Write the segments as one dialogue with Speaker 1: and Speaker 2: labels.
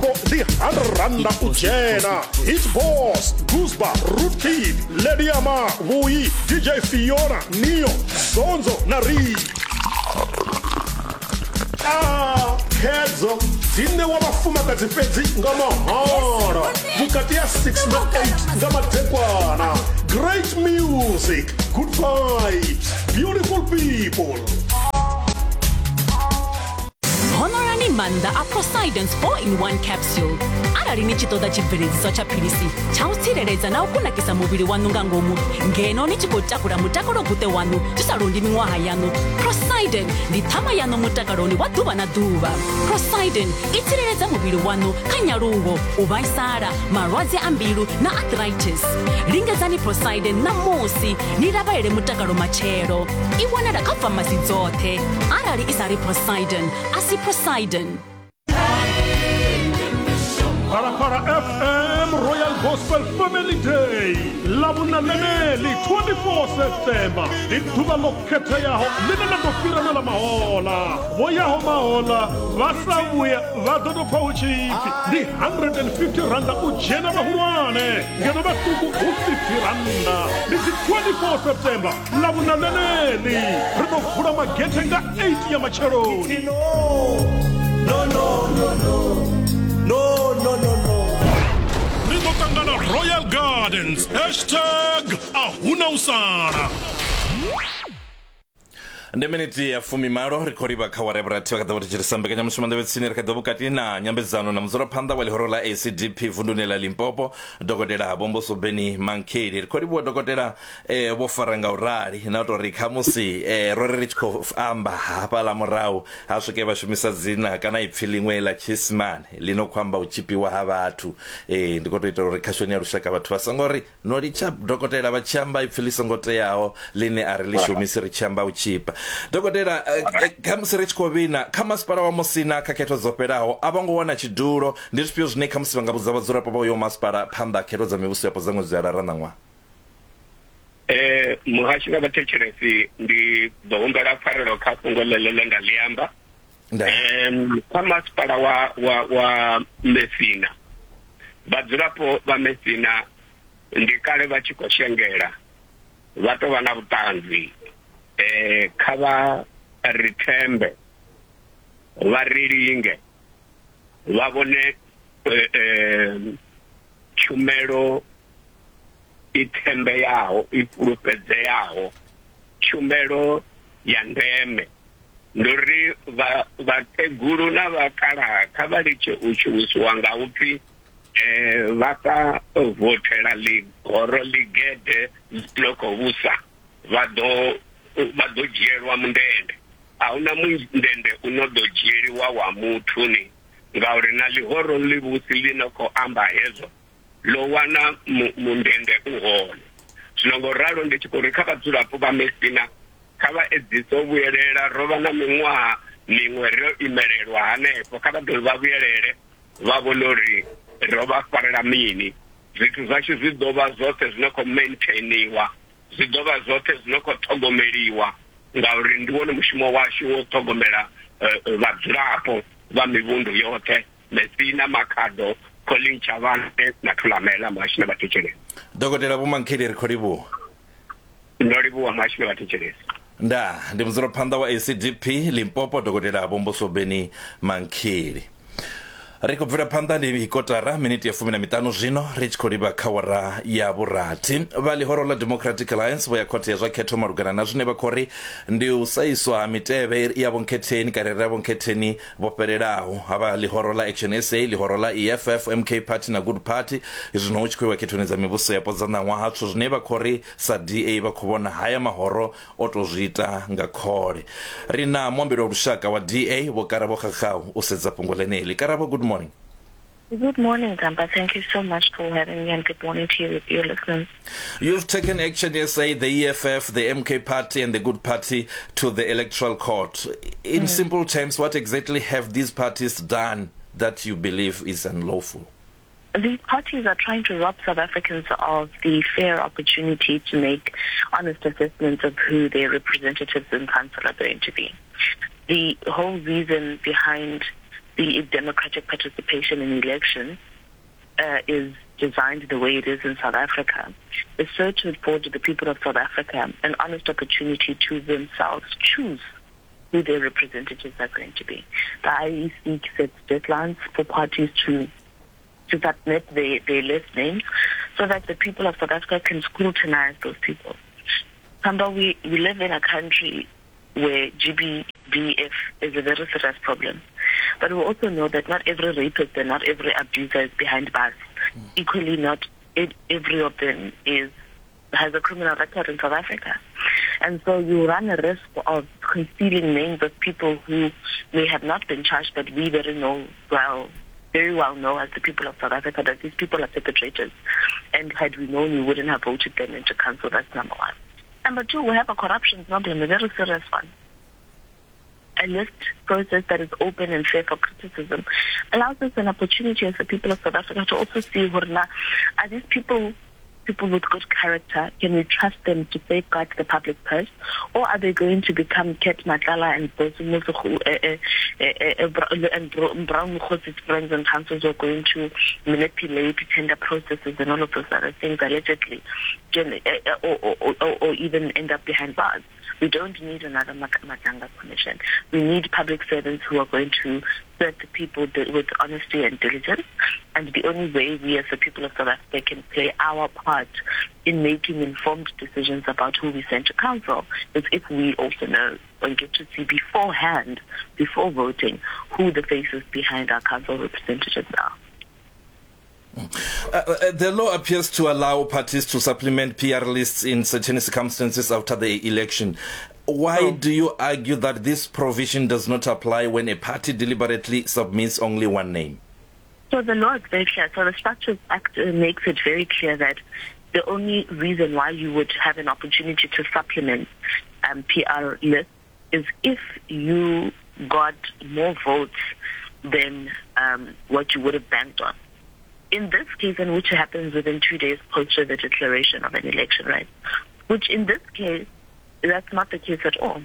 Speaker 1: Vhadzulapo ndi 100 rannda u dzhena. Hit Boss, Guzba, Rootkid, Lady Ama, Vhuyi, DJ Fiona, Neo, Zonzo na Ri. Ah, khedzo dzi ṋewa vhafumakadzi fhedzi nga mahala vhukati ha 6 na 8 nga madekwana. Great music, good vibes, beautiful people.
Speaker 2: Honorani maanḓa a Prosidence 4 in 1 capsule. Arali ni tshi ṱoḓa tshibveledziswa tsha philisi tsha u tsireledza na u kunakisa muvhili waṋu nga ngomu ngeno ni tshi khou takula mutakalo guṱe waṋu zwi sa londi miṅwaha yaṋu, Prosiden ndi ṱhama yaṋu mutakaloni wa ḓuvha na ḓuvha. Prosiden i tsireledza muvhili waṋu kha nyaluwo, u vhaisala, malwadze a mbilu na arthritis. Lingedzani Prosiden ṋamusi ni lavhalele mutakalo matshelo. I wanala kha famasi dzoṱhe. Arali i sa ri Prosiden, a si Prosiden.
Speaker 1: Phalaphala FM Royal Gospel Family Day ḽavhuna ḽeneḽi 24 September ndi ḓuvha ḽo khetheaho ḽine ḽa ḓo fhira na ḽa mahola. Vho yaho mahola vha sa vhuya vha ḓo tou pfa hu tshi pfi ndi 150 randa u dzhena vhahulwane ngeno vhaṱuku hu 50 randa. Ndi dzi 24 September Ḽavhuṋa ḽeneḽi ri ḓo vula magethe nga 8 ya matsheloni.
Speaker 3: No, no, no, no. No, no, no, no.
Speaker 1: Ri ḓo ṱangana Royal Gardens hashtag a huna u sala.
Speaker 4: Ndi miniti ya fumimalo ri khou livha kha wara ya vhurathi vha kha ḓo vha thetshelesa mbekanyamushumo nḓevhe tsini. Ri kha ḓo vhukati na nyambedzano na mudzulaphanḓa wa ḽihoro ḽa ACDP vunduni ḽa Limpopo, Dokotela Vho Mbosobeni Mankheli. Ri khou livhuwa dokotela eh, vho fara nga u rali na u tou ri khamusi eh, ro ri ri tshi khou amba hafhaḽa murahu ha swike vha shumisa dzina kana ipfi ḽiṅwe ḽa tshiisimane ḽi no khou amba u tshipiwa ha vhathu. Eh, ndi khou tou itela uri khashoni ya lushaka vhathu vha songo ri No litsha dokotela vha tshi amba ipfi ḽi songo teaho ḽine a ri ḽi shumisi ri tshi amba u tshipa. Dokotela, eh, eh, khamusi ri tshi khou vhina kha masipala wa Musina kha khetho dzo fhelaho a vho ngo wana tshidulo, ndi zwifhio zwine khamusi vha nga vhudza vhadzulapo vha uyo masipala phanḓa ha khetho dza mivhuso yapo dza ṅwedzi wa Lara ṋaṅwaha?
Speaker 5: Eh, muhashi na vhathetshelesi ndi ḓo humbela pfarelo kha fhungo ḽeḽo ḽe nda ḽi amba.
Speaker 4: Ndaa.
Speaker 5: Em, kha masipala wa wa wa Messina vhadzulapo vha Messina ndi kale vha tshi khou shengela vha tou vha na vhuṱanzi eh kha vha ri thembe vha ri linge vha vhone eh, eh, tshumelo i thembeyaho i fhulufhedzeaho tshumelo ya ndeme ndi uri vha vhakegulu na vhakalaha kha vha litshe u shumisiwa nga upfi eh vha sa vothela ḽigoro ḽigede ḽi no khou vhusa vha ḓo vha ḓo dzhielwa mundende. A huna mundende u no ḓo dzhieliwa wa muthu ni ngauri na ḽihoro ḽivhusi ḽi no khou amba hezwo ḽo wana mundende u hone. Zwino ngo ralo ndi tshi khou ri kha vhadzulapo vha Messina kha vha edzise u vhuyelela, ro vha na miṅwaha miṅwe ro imelelwa hanefho, kha vha dovhe vha vhuyelele vha vhone uri ro vha farela mini. Zwithu zwashu zwi ḓo vha zwoṱhe zwi no khou maintainiwa, zwi ḓo vha zwoṱhe zwi no khou ṱhogomeliwa ngauri ndi wone mushumo washu wo ṱhogomela vhadzulapo vha mivhundu yoṱhe. Messina, Makhado, Colin Chavane na Thulamela muhashi na vhathetshelesi.
Speaker 4: Dokotela Vho Mankheli ri khou livhuwa.
Speaker 5: Ndo livhuwa muhashi na vhathetshelesi.
Speaker 4: Ndaa, ndi mudzulaphanḓa wa ACDP Limpopo Dokotela Vho Mbosobeni Mankheli. Ri khou bvela phanḓa ndi kotara miniti ya fumi na miṱanu zwino ri tshi khou livha kha wara ya vhurathi. Vha ḽihoro ḽa Democratic Alliance vho ya khothe ya zwa khetho malugana na zwine vha khou ri ndi u saiswa ha mitevhe ya vhonkhetheni kana ya vhonkhetheni vho fhelelaho ha vha ḽihoro ḽa Action SA, ḽihoro ḽa EFF, MK Party na Good Party zwino hu tshi khou iwa khethoni dza mivhuso yapo dza ṋaṅwaha zwithu zwine vha khou ri sa DA vha khou vhona haya mahoro o tou zwi ita nga khole. Ri na muambeli wa lushaka wa DA Vho Karabo Khakhau u sedza fhungo ḽeneḽi. Karabo, good morning.
Speaker 6: Good morning, Gamba. Thank you so much for having me, and good morning to you, your listeners.
Speaker 4: You've taken Action SA, the EFF, the MK Party, and the Good Party to the Electoral Court. In simple terms, what exactly have these parties done that you believe is unlawful?
Speaker 6: These parties are trying to rob South Africans of the fair opportunity to make honest assessments of who their representatives in council are going to be. The whole reason behind the democratic participation in elections is designed the way it is in South Africa, is so to afford the people of South Africa an honest opportunity to themselves choose who their representatives are going to be. The IEC sets deadlines for parties to submit their list names so that the people of South Africa can scrutinize those people. Remember, we live in a country where GBVF is a very serious problem. But we also know that not every rapist and not every abuser is behind bars. Equally, not every of them has a criminal record in South Africa. And so you run a risk of concealing names of people who may have not been charged, but we very well know as the people of South Africa that these people are perpetrators. And had we known, we wouldn't have voted them into council. That's number one. Number two, we have a corruption problem, a very serious one. A list process that is open and fair for criticism allows us an opportunity as the people of South Africa to also see, are these people with good character? Can we trust them to safeguard the public purse? Or are they going to become Cat Matlala and Brown Moghosi's friends and councils who are going to manipulate tender processes and all of those other things allegedly, or even end up behind bars? We don't need another Madlanga Commission. We need public servants who are going to serve the people with honesty and diligence. And the only way we as the people of South Africa can play our part in making informed decisions about who we send to council is if we also know and get to see beforehand, before voting, who the faces behind our council representatives are.
Speaker 4: The law appears to allow parties to supplement PR lists in certain circumstances after the election. Why do you argue that this provision does not apply when a party deliberately submits only one name?
Speaker 6: So the law is very clear. So the Structures Act makes it very clear that the only reason why you would have an opportunity to supplement PR lists is if you got more votes than what you would have banked on. In this case, and which happens within 2 days post the declaration of an election, right? Which in this case, that's not the case at all.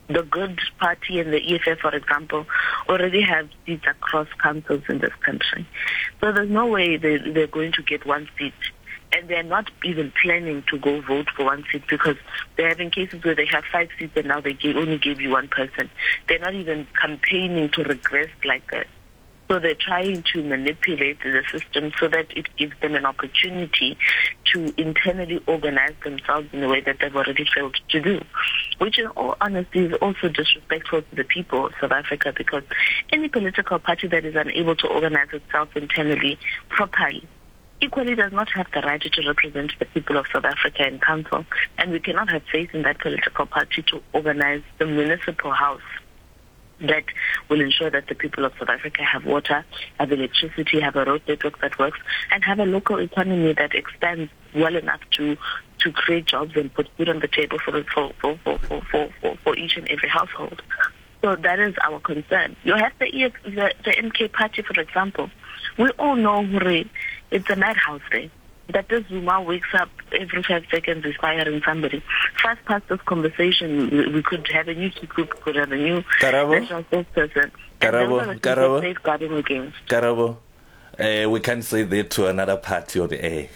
Speaker 6: The Good Party and the EFF, for example, already have seats across councils in this country. So there's no way they're going to get one seat. And they're not even planning to go vote for one seat because they're having cases where they have 5 seats and now they only give you one person. They're not even campaigning to regress like that. So they're trying to manipulate the system so that it gives them an opportunity to internally organize themselves in a way that they've already failed to do, which in all honesty is also disrespectful to the people of South Africa, because any political party that is unable to organize itself internally properly equally does not have the right to represent the people of South Africa in council. And we cannot have faith in that political party to organize the municipal house that will ensure that the people of South Africa have water, have electricity, have a road network that works, and have a local economy that expands well enough to create jobs and put food on the table for each and every household. So that is our concern. You have the MK party, for example. We all know it's a madhouse there. That this Zuma wakes up every 5 seconds is firing somebody. Fast past this conversation, we could have a new group, we could have a new national spokesperson. Karabo, safeguarding against.
Speaker 4: Karabo, we can't say that to another party on the air,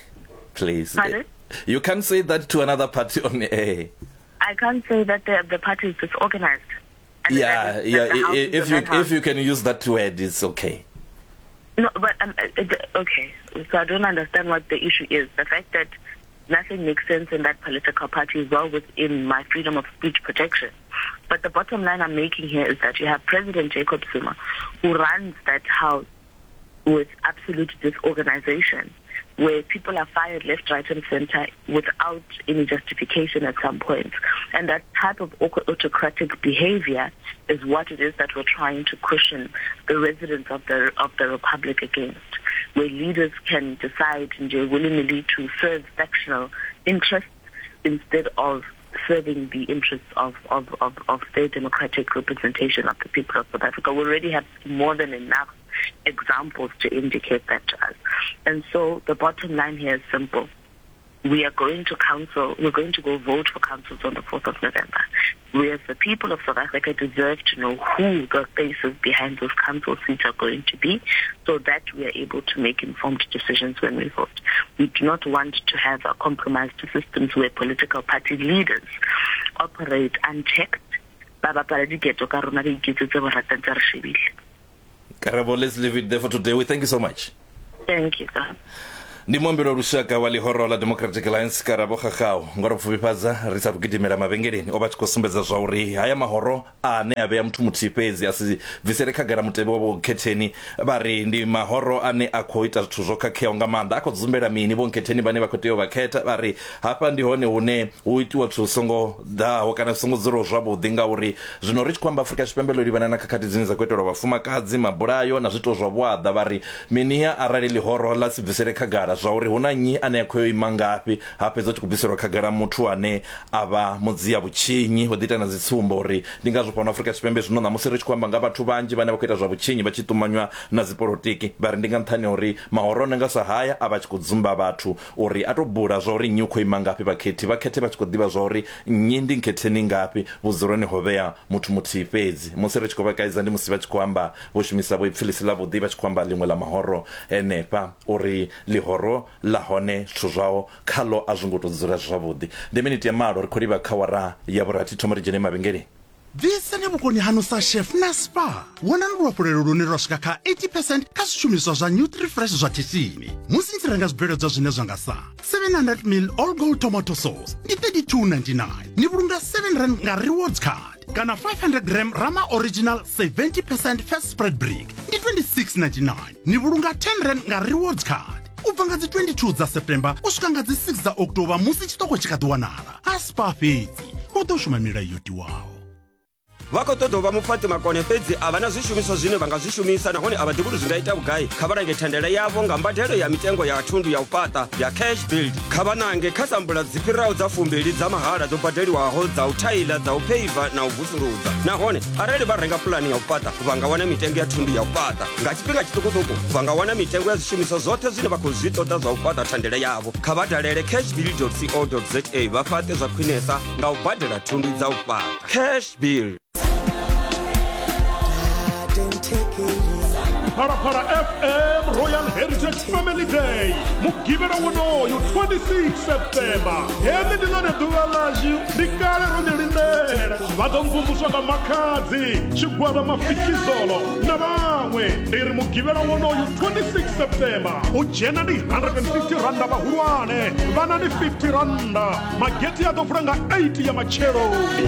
Speaker 4: please.
Speaker 6: Pardon?
Speaker 4: You can't say that to another party on the air.
Speaker 6: I can't say that the party is disorganized.
Speaker 4: Yeah, yeah. If you can use that word, it's okay.
Speaker 6: No, but okay. So I don't understand what the issue is. The fact that nothing makes sense in that political party is well within my freedom of speech protection. But the bottom line I'm making here is that you have President Jacob Zuma, who runs that house with absolute disorganization, where people are fired left, right, and center without any justification at some point. And that type of autocratic behavior is what it is that we're trying to cushion the residents of the Republic against, where leaders can decide willy-nilly to serve factional interests instead of serving the interests of their democratic representation of the people of South Africa. We already have more than enough examples to indicate that to us. And so the bottom line here is simple. We are going to council, we're going to go vote for councils on the 4th of November. We as the people of South Africa deserve to know who the faces behind those council seats are going to be so that we are able to make informed decisions when we vote. We do not want to have a compromised systems where political party leaders operate unchecked ba bapala diketo ka rona ba iketsetse boratang tsa re shebile.
Speaker 4: Karabo, let's leave it there for today. We thank you so much.
Speaker 6: Thank you, sir.
Speaker 4: Ndi muambeli wa lushaka wa ḽihoro ḽa Democratic Alliance Karabo Khakhau. Ngo ro pfufhifhadza ri sa thu gidimela mavhengeleni o vha tshi khou sumbedza zwa uri haya mahoro ane a vhea muthu muthihi fhedzi a si bvisele khagala mutevhe wa vhokhetheni vha ri ndi mahoro ane a khou ita zwithu zwo khakheaho nga maanḓa a khou dzumbela mini vhonkhetheni vhane vha khou tea u vha khetha vha ri hafha ndi hone hune hu itiwa zwithu zwi songo ḓaho kana zwi songo dzulaho zwavhuḓi ngauri zwino ri tshi khou amba Afrika Tshipembe ḽo livhana na khakhathi dzine dza khou itelwa vhafumakadzi mabulayo na zwiito zwa vhuaḓa vha ri miniha arali ḽihoro ḽa si bvisele khagala zwa uri hu na nnyi ane a khou yo ima ngafhi ha fhedza hu tshi khou bviselwa khagala muthu ane a vha mudzia vhutshinyi ho ḓi ita na dzi tsumbo uri ndi ngazwo fhano Afrika Tshipembe zwino ṋamusi ri tshi khou amba nga vhathu vhanzhi vhane vha khou ita zwa vhutshinyi vha tshi ṱumanywa na dzipolotiki vha ri ndi nga nṱhani ha uri mahoro one nga sa haya a vha a tshi khou dzumba vhathu uri a tou bula zwa uri nnyi u khou ima ngafhi vhakhethi vha khethe vha tshi khou ḓivha zwa uri nnyi ndi nkhetheni ngafhi vhudzuloni ho vhea muthu muthihi fhedzi musi ri tshi khou vha kaidza ndi musi vha tshi khou amba vho shumisa vho ipfi ḽi si ḽavhuḓi vha tshi khou amba ḽiṅwe ḽa mahoro henefha uri ḽihoro ḽa hone zwithu zwao khaḽo a zwo ngo tou dzula zwavhuḓi. Ndi miniti ya malo ri khou livha kha awara ya vhurathi thoma ri dzhene mavhengeleni.
Speaker 7: Bvisani vhukoni haṋu sa chef na Spar. Wanani luhafhulelo lune lwa swika kha 80 percent kha zwishumiswa zwa Nutrifresh zwa khishini musi ni tshi renga zwibveledzwa zwine zwa nga sa 700 ml All Gold Tomato Sauce ndi 32.99 ni vhulunga 7 rand nga rewards card kana 500 gram Rama Original 70 percent fat spread brick ndi 26.99 ni vhulunga 10 rand nga rewards card u bva nga dzi 22 dza september u swika nga dzi 6 dza october musi tshiṱoko tshi kha ḓi wanala a spa fhedzi hu ḓo shuma milayo yo tiwaho
Speaker 8: Vha khou ṱoḓa u vha mufhaṱi makone fhedzi a vha na zwishumiswa zwine vha nga zwi shumisa nahone a vha ḓivhi uri zwi nga ita vhugai. Kha vha lange thandela yavho nga mbadelo ya mitengo ya thundu ya u fhaṱa ya Cash Build. Kha vha nange kha sambula dzi fhiraho dza fumbili dza mahala dzo badeliwaho dza u thaila, dza u pheiva na u vusuludza. Nahone arali vha renga pulani ya u fhaṱa vha nga wana mitengo ya thundu ya u fhaṱa nga tshifhinga tshiṱukuṱuku. Vha nga wana mitengo ya zwishumiswa zwoṱhe zwine vha khou zwi ṱoḓa zwa u fhaṱa thandela yavho. Kha vha dalele cashbuild.co.za vha fhaṱe zwa khwinesa nga u badela thundu dza u fhaṱa. Cash Bill.
Speaker 1: Phalaphala FM Royal Heritage Family Day mugivhela wonoyu 26 September. Heḽi ndi ḽone ḓuvha ḽashu, ndi kale ro ḽi lindela. Vha ḓo mvumvuswa nga Makhadzi, Tshigwada Mafikizolo na vhaṅwe. Ndi ri mugivhela wonoyu 26 September u dzhena ndi 150 randa vhahulwane, vhana ndi 50 randa. Magethe a ḓo vula nga 8 ya matsheloni.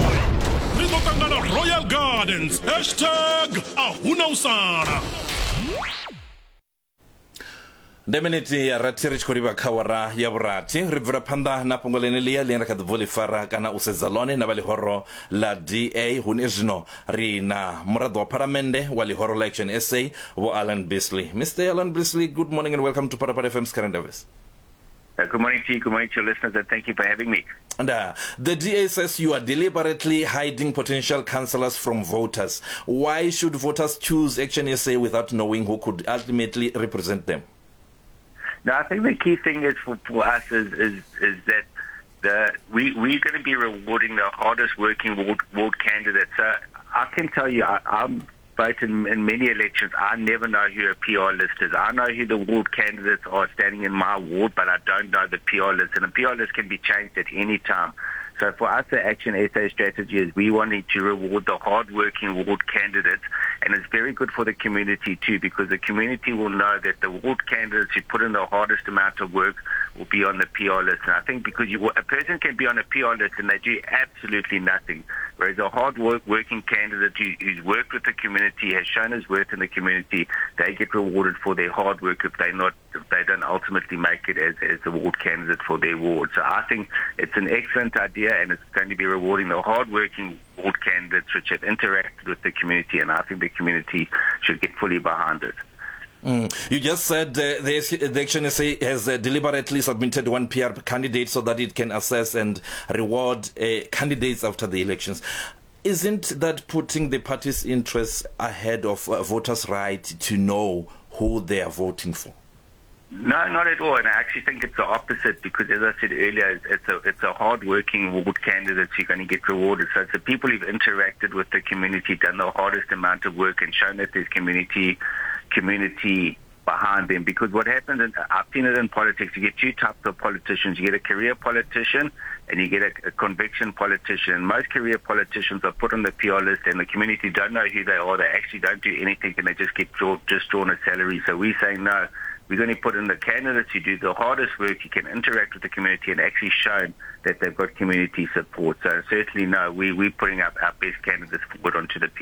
Speaker 1: Ri ḓo ṱangana Royal Gardens hashtag a huna u sala.
Speaker 4: Ndi miniti ya rathi ri tshi khou livha kha wara ya vhurathi ri bvela phanḓa na fhungo ḽeneḽia ḽine ra kha ḓi bvo ḽi fara kana u sedza ḽone na vha ḽihoro ḽa DA hune zwino ri na muraḓo wa phalamennde wa ḽihoro ḽa Action SA Vho Alan Beasley. Mr Alan Beasley, good morning and welcome to Phalaphala FM's Current Affairs.
Speaker 9: Good morning to you, good morning to your listeners, and thank you for having me.
Speaker 4: And the DA says you are deliberately hiding potential councillors from voters. Why should voters choose Action SA without knowing who could ultimately represent them?
Speaker 9: No, I think the key thing is for us is that we're going to be rewarding the hardest working ward candidates. I can tell you, I'm vote in many elections. I never know who a PR list is. I know who the ward candidates are standing in my ward, but I don't know the PR list. And the PR list can be changed at any time. So for us, the Action SA strategy is we wanting to reward the hard-working ward candidates, and it's very good for the community too, because the community will know that the ward candidates who put in the hardest amount of work will be on the PR list. And I think because a person can be on a PR list and they do absolutely nothing, whereas a hard-working candidate who's worked with the community, has shown his worth in the community, they get rewarded for their hard work if they're not, if they don't ultimately make it as the ward candidate for their ward. So I think it's an excellent idea, and it's going to be rewarding the hard-working ward candidates which have interacted with the community, and I think the community should get fully behind it.
Speaker 4: You just said the Action SA has deliberately submitted one PR candidate so that it can assess and reward candidates after the elections. Isn't that putting the party's interests ahead of voters' right to know who they are voting for?
Speaker 9: No, not at all. And I actually think it's the opposite because, as I said earlier, it's a it's a hard-working ward candidate who's going to get rewarded. So it's the people who've interacted with the community, done the hardest amount of work, and shown that there's community community behind them. Because what happens, and I've seen it in politics, you get two types of politicians. You get a career politician and you get a, a conviction politician. Most career politicians are put on the PR list and the community don't know who they are. They actually don't do anything and they just get draw, just drawn a salary. So we're saying no. We're going to put in the candidates who do the hardest work, who can interact with the community and actually shown that they've got community support. So certainly no, we, we're putting up our best candidates forward onto the PR